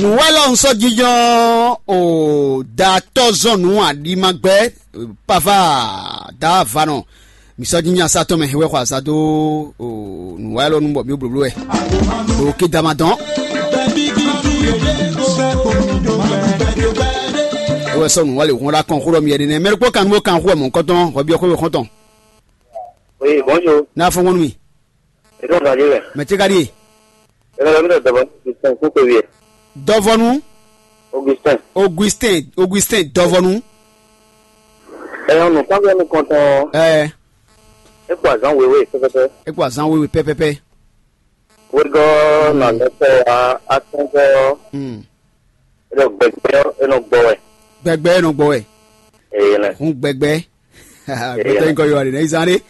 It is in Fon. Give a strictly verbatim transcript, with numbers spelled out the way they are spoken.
Nǔwɛ́lɔ un sɔ́ jínjɔ́n o datɔ́ zɔn nǔ aɖimagbɛ́ pava davanɔ. Mi sɔ́ jínjɔ́n asá tɔn mɛ wɛ xɔ azǎn dó o nǔwɛ́lɔ nú bɔ mǐ blǒbló wɛ. Ɖo kídama dɔn. É wɛ sɔ́ nǔwɛ́lɛ hɔn ɖo akɔn xó ɖɔ mi yɛ ɖe nɛ́. Mɛ ɖokpó kan nú bó kan xó wɛ mɔ̌hunkɔtɔn hɔbíɔ́ xó we xɔ́ntɔn. Oui, bonjour. N'a fɔn nú mi. Ètò ìgbàdí rẹ̀. Mɛ tí ka ɖíe. Ètò ìgbàdí rẹ̀ dọ̀bọ̀ ní ìsìn kúkú yẹ. Dɔvɔnu. Augustin. Augustin, Augustin, dɔvɔnu. Ẹ̀yàn nù káwé ẹnu kan tán. Ẹ. É kó àzán wéwé pẹ́pẹ́pẹ́. É kó azán wéwé pɛpɛpɛ. Wégɔ́ nà lọ́tọ̀ wá atúngọ́. Hmm. É nɔ gbẹgbẹ́ ọ́, é nọ gbɔ wɛ. Gbẹgbẹ́ é nɔ gbɔ wɛ. Èyí lẹ. Hun gbẹgbẹ́. Gbẹtɔ nyikɔ yɔ wali nɛ izan ɖe.